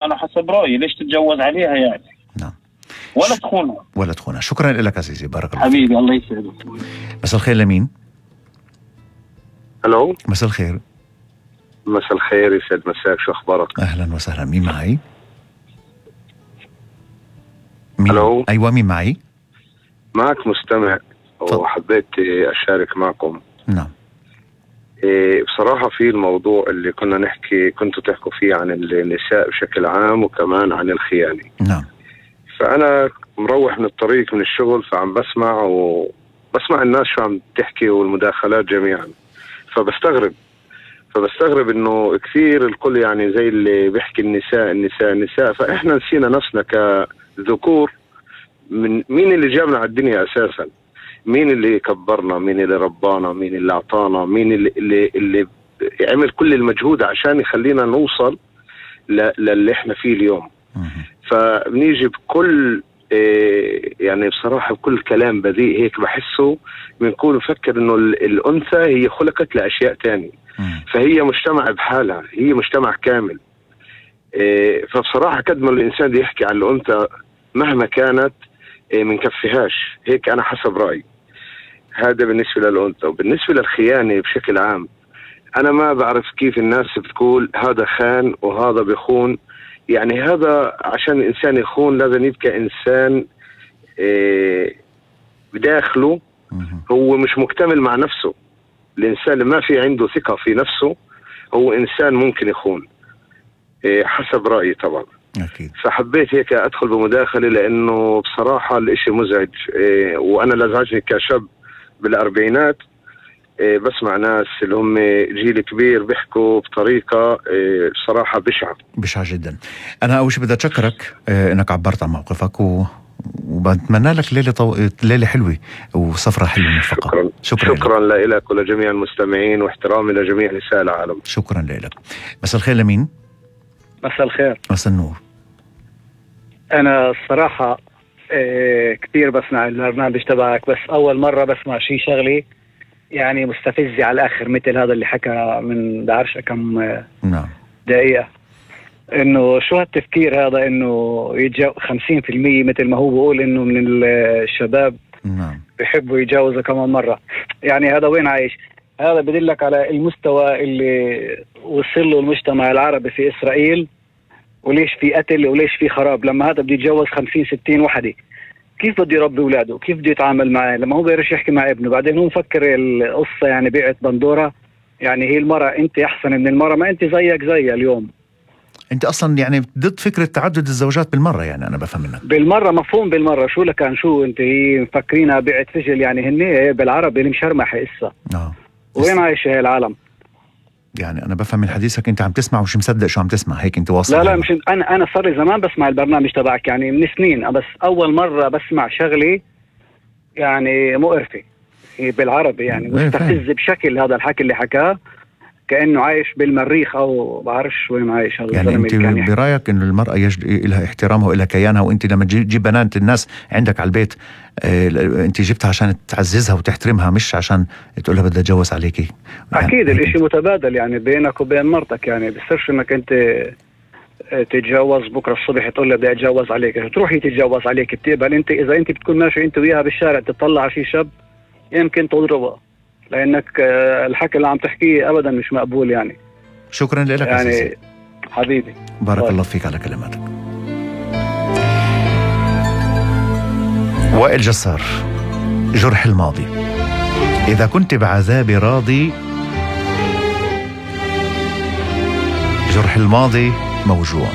أنا حسب رأيي ليش تتجوز عليها يعني؟ نعم. ولا تخونها. شكرا لك عزيزي، بارك الله حبيبي، الله يسعدك. مساء الخير لمين؟ الو، مساء الخير. مساء الخير، يسعد مساك، شو اخبارك؟ اهلا وسهلا، مين معي؟ الو، ايوه، مين معي؟ معك مستمع وحبيت اشارك معكم. نعم. بصراحة في الموضوع اللي كنتوا تحكوا فيه عن النساء بشكل عام وكمان عن الخيانة. نعم. فأنا مروح من الطريق من الشغل، فعم بسمع الناس شو عم تحكي والمداخلات جميعا، فبستغرب انه كثير الكل يعني زي اللي بيحكي النساء، فاحنا نسينا نفسنا كذكور. من مين اللي جابنا على الدنيا اساسا؟ مين اللي كبرنا؟ مين اللي ربانا؟ مين اللي اعطانا؟ مين اللي عمل كل المجهود عشان يخلينا نوصل للي احنا فيه اليوم؟ فبنيجي بكل يعني بصراحة بكل كلام بذيء هيك بحسه بنكون نفكر انه الانثى هي خلقت لاشياء تانية، فهي مجتمع بحالها، هي مجتمع كامل. فبصراحة قد ما الانسان دي يحكي عن الانثى مهما كانت منكفيهاش، هيك انا حسب رأيي. هذا بالنسبة للانثى. وبالنسبة للخيانة بشكل عام، انا ما بعرف كيف الناس بتقول هذا خان وهذا بيخون. يعني هذا عشان الإنسان يخون لازم يبقى إنسان بداخله هو مش مكتمل مع نفسه. الإنسان اللي ما في عنده ثقة في نفسه هو إنسان ممكن يخون، حسب رأيي طبعا. أكيد. فحبيت هيك أدخل بمداخلة لأنه بصراحة الإشي مزعج، وأنا لازعجني كشاب بالأربعينات بسمع ناس اللي هم جيل كبير بيحكوا بطريقة بصراحة بشعة جدا. أنا أول شيء بدي أشكرك إنك عبرت عن موقفك وبتمنى لك ليلة حلوة وسفرة حلوة موفقة. شكرا لك ولجميع المستمعين، واحترامي لجميع نساء العالم. شكرا لك. مساء الخير لمين؟ مساء الخير. مساء النور. أنا الصراحة كثير بسمع البرنامج تبعك، بس أول مرة بسمع شيء شغلي يعني مستفزة على الآخر، مثل هذا اللي حكى من بعرفش كم دقيقة، إنه شو هالتفكير هذا، إنه 50% مثل ما هو بقول إنه من الشباب بيحبوا يتجاوزوا كمان مرة. يعني هذا وين عايش؟ هذا بدلك على المستوى اللي وصل له المجتمع العربي في إسرائيل، وليش في قتل وليش في خراب. لما هذا بده يتجوز 50-60 وحدة، كيف بده يربي اولاده؟ كيف بده يتعامل معه لما هو بيقدرش يحكي مع ابنه؟ بعدين هو مفكر القصه يعني بيعت بندوره، يعني هي المراه انت احسن من المراه، ما انت زيك زي اليوم. انت اصلا يعني ضد فكره تعدد الزوجات بالمره، يعني انا بفهم منك بالمره، مفهوم بالمره. شو لكان شو انت هي مفكرينها بيعت سجل، يعني هن بالعربي اللي مشرمح قصه. وين عايش هي العالم؟ يعني انا بفهم من حديثك انت عم تسمع ومش مصدق شو عم تسمع، هيك انت واصل؟ لا مش انا صار لي زمان بسمع البرنامج تبعك، يعني من سنين، بس اول مره بسمع شغلي يعني مقرفه بالعربي، يعني مستفز بشكل. هذا الحكي اللي حكاه كانه عايش بالمريخ او بعرفش وين عايش. هذا يعني انت برايك انه المراه لها احترامها والها كيانها، وانت لما تجيب بنات الناس عندك على البيت انت جبتها عشان تعززها وتحترمها، مش عشان تقول لها بدي اتجوز عليكي. يعني اكيد الاشي متبادل يعني بينك وبين مرتك، يعني بصيرش انك انت تتجوز بكره الصبح تقول لها بدي اتجوز عليك، تروحي تتجوز عليك، بتقبل انت؟ اذا انت بتكون ماشي انت وياها بالشارع تطلع على شي شاب يمكن تضربها، لانك الحكي اللي عم تحكيه ابدا مش مقبول. يعني شكرا لك يعني حبيبي، بارك الله فيك على كلماتك. وائل جسار، جرح الماضي. إذا كنت بعذابي راضي، جرح الماضي موجوع.